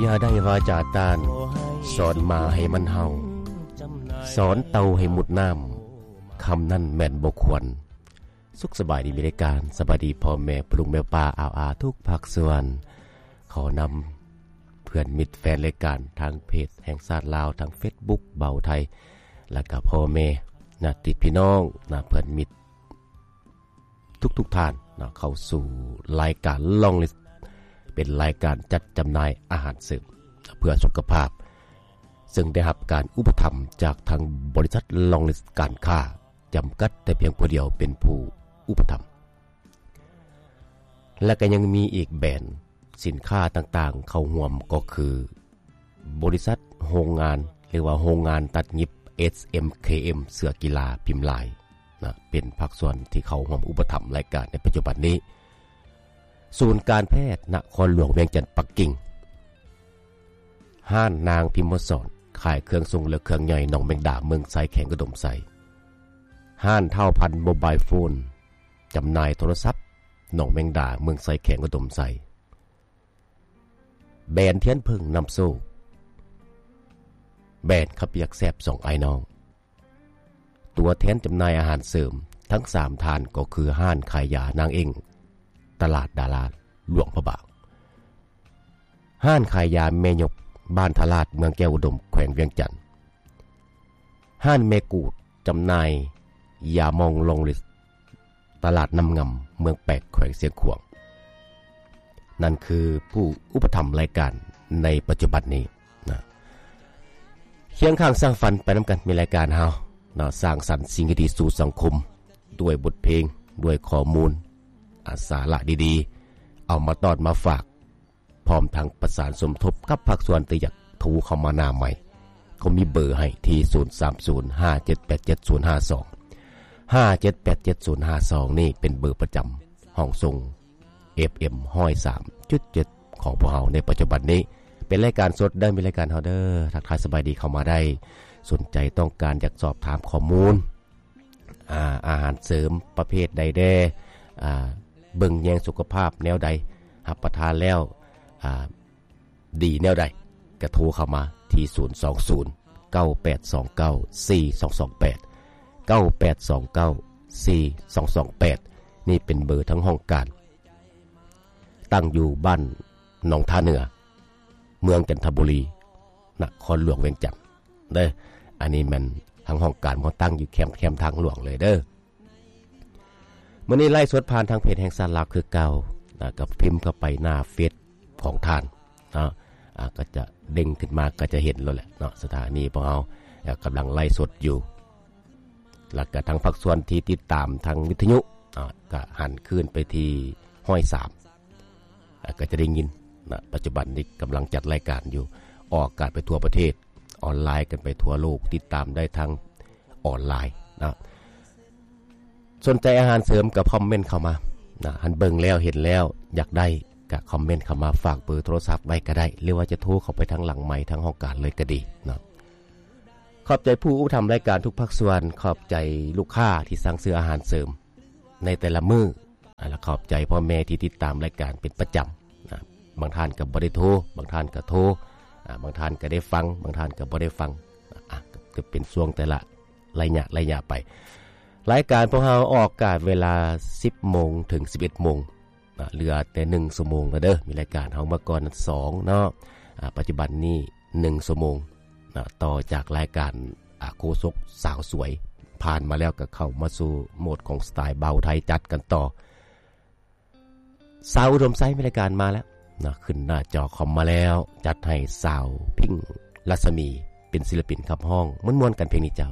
ຢ່າໄດ້ວາຈາຕ້ານ, ສອນໝາໃຫ້ມັນເຫົ່າ, ສອນເຕົ່າໃຫ້ມຸດນ້ຳ, ຄຳນັ້ນແມ່ນບໍ່ຄວນ. ສຸກສະບາຍດີ ມີລາຍການ ສະບາຍດີພໍ່ແມ່ ພໍ່ລຸງແມ່ປ້າ ອາວອາ ທຸກພາກສ່ວນ. ຂໍນຳເພື່ອນມິດແຟນລາຍການ ທາງເພຈແຫ່ງຊາດລາວ, ທາງເຟສບຸກເບົາໄທ ແລະກະພໍ່ແມ່ ຍາດຕິພີ່ນ້ອງ ນະ ເພື່ອນມິດ ທຸກໆທ່ານເນາະ ເຂົ້າສູ່ລາຍການ Long List ເປັນລາຍການຈັດຈຳໜ່າຍອາຫານເສີມເພື່ອສຸຂະພາບ ເຊິ່ງໄດ້ຮັບການອຸປະຖຳຈາກທາງບໍລິສັດ Long List ການຄ້າ ຈຳກັດແຕ່ພຽງຜູ້ດຽວເປັນຜູ້ອຸປະຖຳ ແລະກະຍັງມີອີກແບຣນສິນຄ້າຕ່າງໆເຂົ້າຮ່ວມ ກໍຄື ບໍລິສັດໂຮງງານ ຫຼືວ່າໂຮງງານຕັດຫຍິບ ເອສເອັມເຄເອັມ ເສື້ອກິລາພິມລາຍນະ ເປັນພາກສ່ວນທີ່ເຂົ້າຮ່ວມອຸປະຖຳລາຍການໃນປັດຈຸບັນນີ້. ສູນການແພດນະຄອນຫຼວງວຽງຈັນ ປັກກິ່ງ, ຮ້ານນາງພິມມະສອນ ຂາຍເຄື່ອງຊົງ ແລະ ເຄື່ອງຍ່ອຍ ໜອງແມງດາ ເມືອງໄຊ ແຂວງອຸດົມໄຊ, ຮ້ານທ້າວພັນໂມບາຍໂຟນ ຈຳໜ່າຍໂທລະສັບ ໜອງແມງດາ ເມືອງໄຊ ແຂວງອຸດົມໄຊ. ແບຣນທຽນເຜິ້ງນຳໂຊກ, ແບຣນເຂົ້າປຽກແຊບສອງອ້າຍນ້ອງ. ຕົວແທນຈຳໜ່າຍອາຫານເສີມທັງສາມທ່ານ ກໍຄືຮ້ານຂາຍຢານາງເອັ້ງ ຕະຫຼາດດາລາ ຫຼວງພະບາງ, ຮ້ານຂາຍຢາແມ່ຍົກ ບ້ານທະລາດ ເມືອງແກ້ວອຸດົມ ແຂວງວຽງຈັນ, ຮ້ານແມ່ກູດ ຈຳໜ່າຍຢາໝອງ Long List ຕະຫຼາດນ້ຳງຳ ເມືອງແປກ ແຂວງຊຽງຂວາງ. ນັ້ນຄືຜູ້ອຸປະຖຳລາຍການໃນປັດຈຸບັນນີ້ນະ. ຄຽງຂ້າງສ້າງຝັນໄປນຳກັນ ມີລາຍການເຮົາເນາະ ສ້າງສັນສິ່ງດີໆສູ່ສັງຄົມ ດ້ວຍບົດເພງ ດ້ວຍຂໍ້ມູນ ອາ ສາລະດີໆ ເອົາມາຕ້ອນມາຝາກ ພ້ອມທັງປະສານສົມທົບກັບພາກສ່ວນທີ່ຢາກໂທເຂົ້າມາໜ້າໄມ. ເຂົາມີເບີໃຫ້ທີ່ ສູນສາມສູນ ຫ້າເຈັດແປດເຈັດ ສູນຫ້າສອງ, ຫ້າເຈັດແປດເຈັດ ສູນຫ້າສອງ ນີ້ເປັນເບີປະຈຳຫ້ອງສົ່ງ ເອຟເອັມ ຮ້ອຍສາມຈຸດເຈັດ ຂອງພວກເຮົາໃນປັດຈຸບັນນີ້. ເປັນລາຍການສົດເດີ ມີລາຍການເຮົາເດີ. ທັກທາຍສະບາຍດີເຂົ້າມາໄດ້. ສົນໃຈຕ້ອງການຢາກສອບຖາມຂໍ້ມູນ ອາ ອາຫານເສີມປະເພດໃດແດ່ ອາ ເບິ່ງແຍງສຸຂະພາບແນວໃດ ຮັບປະທານແລ້ວ ອາ ດີແນວໃດ ກະໂທເຂົ້າມາທີ່ ສູນສອງສູນ ເກົ້າແປດສອງເກົ້າ ສີ່ສອງສອງແປດ, ເກົ້າແປດສອງເກົ້າ ສີ່ສອງສອງແປດ. ນີ້ເປັນເບີທາງຫ້ອງການ ຕັ້ງຢູ່ບ້ານໜອງທ່າເໜືອ ເມືອງຈັນທະບູລີ ນະຄອນຫຼວງວຽງຈັນເດີ. ອັນນີ້ແມ່ນທາງຫ້ອງການເຮົາຕັ້ງຢູ່ແຄມ ແຄມທາງຫຼວງເລີຍເດີ. ມື້ນີ້ໄລຟ໌ສົດຜ່ານທາງເພຈແຫ່ງຊາດລາວຄືເກົ່ານະ, ກໍພິມເຂົ້າໄປໜ້າເຟສຂອງທ່ານເນາະ, ອາ ກໍຈະເດັ່ງຂຶ້ນມາ ກໍຈະເຫັນໂລດແຫຼະເນາະ. ສະຖານີຂອງເຮົາກຳລັງໄລຟ໌ສົດຢູ່ ແລ້ວກໍທາງພາກສ່ວນທີ່ຕິດຕາມທາງວິທະຍຸ ອາ ກໍຫັນຄືນໄປທີ່ຮ້ອຍສາມ ອາ ກໍຈະໄດ້ຍິນນະ. ປັດຈຸບັນນີ້ກຳລັງຈັດລາຍການຢູ່ ອອກອາກາດໄປທົ່ວປະເທດ, ອອນລາຍກັນໄປທົ່ວໂລກ, ຕິດຕາມໄດ້ທາງອອນລາຍນະ. ສົນໃຈອາຫານເສີມກໍຄອມເມັນເຂົ້າມານະ, ຄັນເບິ່ງແລ້ວເຫັນແລ້ວຢາກໄດ້ກໍຄອມເມັນເຂົ້າມາ, ຝາກເບີໂທລະສັບໄວ້ກໍໄດ້ ຫຼືວ່າຈະໂທເຂົ້າໄປທາງຫຼັງໄມ ທາງຫ້ອງການເລີຍກໍດີເນາະ. ຂອບໃຈຜູ້ອຸປະຖຳລາຍການທຸກພາກສ່ວນ, ຂອບໃຈລູກຄ້າທີ່ສັ່ງຊື້ອາຫານເສີມໃນແຕ່ລະມື້. ອາ ແລະ ຂອບໃຈພໍ່ແມ່ທີ່ຕິດຕາມລາຍການເປັນປະຈຳນະ. ບາງທ່ານກໍບໍ່ໄດ້ໂທ, ບາງທ່ານກໍໂທ, ອາ ບາງທ່ານກໍໄດ້ຟັງ, ບາງທ່ານກໍບໍ່ໄດ້ຟັງ. ອາ ກໍເປັນຊ່ວງແຕ່ລະໄລຍະໄລຍະໄປ. ລາຍການພວກເຮົາອອກອາກາດເວລາສິບໂມງເຖິງສິບເອັດໂມງນະ, ເຫຼືອແຕ່ໜຶ່ງຊົ່ວໂມງແລ້ວເດີ. ມີລາຍການເຮົາເມື່ອກ່ອນສອງເນາະ, ອາ ປັດຈຸບັນນີ້ໜຶ່ງຊົ່ວໂມງນະ, ຕໍ່ຈາກລາຍການ ອາ ໂຄສົກສາວສວຍ ຜ່ານມາແລ້ວ ກໍເຂົ້າມາສູ່ໂໝດຂອງສະໄຕເບົາໄທ ຈັດກັນຕໍ່. ສາວອຸດົມໄຊມີລາຍການມາແລ້ວນະ, ຂຶ້ນໜ້າຈໍຄອມມາແລ້ວ, ຈັດໃຫ້ສາວພິງ ລັດສະໝີ ເປັນສິລະປິນຂັບຮ້ອງ, ມ່ວນໆກັນເພງນີ້ເຈົ້າ.